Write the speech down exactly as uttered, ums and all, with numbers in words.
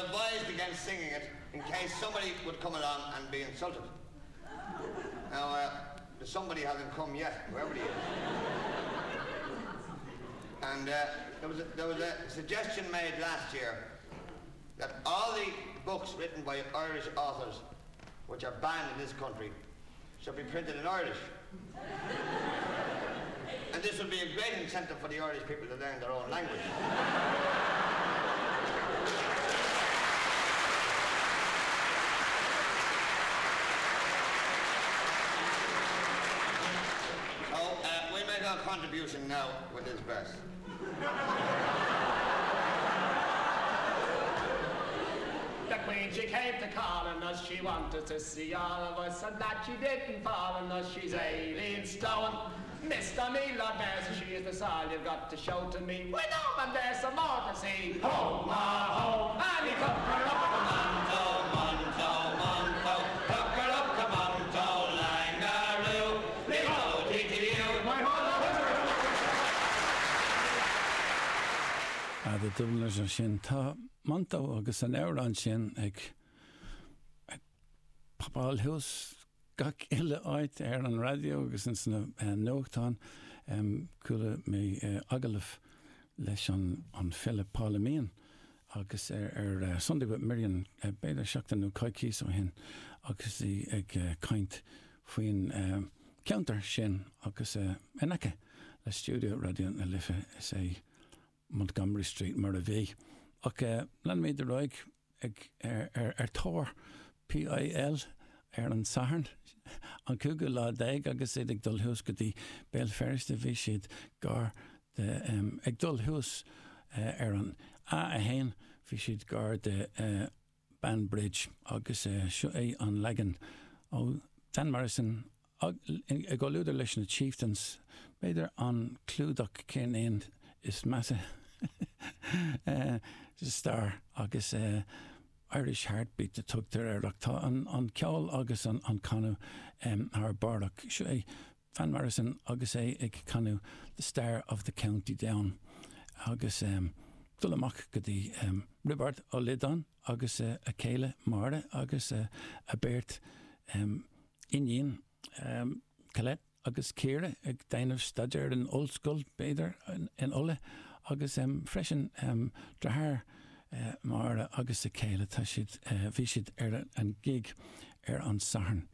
advised against singing it in case somebody would come along and be insulted. Now, uh, the somebody hasn't come yet, whoever he is. And uh, there, was a, there was a suggestion made last year that all the books written by Irish authors which are banned in this country should be printed in Irish. And this would be a great incentive for the Irish people to learn their own language. So uh, we make our contribution now with this verse. The Queen, she came to call on us, she wanted to see all of us, and that she didn't fall on us, she's Aileen Stone. Mister me, Lord Mayor, she is the all you've got to show to me. We know, but there's some more to see. Ho, ma, ho, and he took her up to Monto, Monto, Monto, took her up to Monto, Langaroo, Leo, T T U. My Ah, the Dubliners ansin tá Monto agus an amhrán sin ag ag popáil thuas gach uile áit ar an raidió agus ins na nuachtáin. Chuala mé agallamh leis an an file Paula Meehan agus ar ar Sunday with Miriam b'fhéidir seachtain nó coicís ó shin agus í ag caint faoin ceantar sin agus in aice le stiúideo Raidió na Life is é Montgomery Street mar a bhí. Ach leanfaimid ar aghaidh ag ar ar ar tóir PIL ar an Satharn an cúigiú lá déag agus iad ag dul thuas go dtí Béal Feirste bhí siad gar de um, ag dul thuas uh, ar an A a haon bhí siad gar de uh, Banbridge agus uh, seo é an leagan ó Van Morrison i gcomhluadar leis na Chieftains b'fhéidir an clúdach ceirnín is measa uh, stair agus uh, Irish Heartbeat a tugtar air ach tá an, an ceol agus an, an canadh um, thar barr ach seo é Van Morrison agus é ag canadh The Star of the County Down agus um, dul amach go dtí um, Roibeard Ó Loideáin agus uh, a chéile Máire agus uh, a beirt um, iníon um, Colette agus Ciara ag déanamh staidéar in ollscoil b'fhéidir in, in Uladh agus um, freisin um, deartháir uh, Máire agus a chéile tá siad uh, bhí siad ar an gig ar an Satharn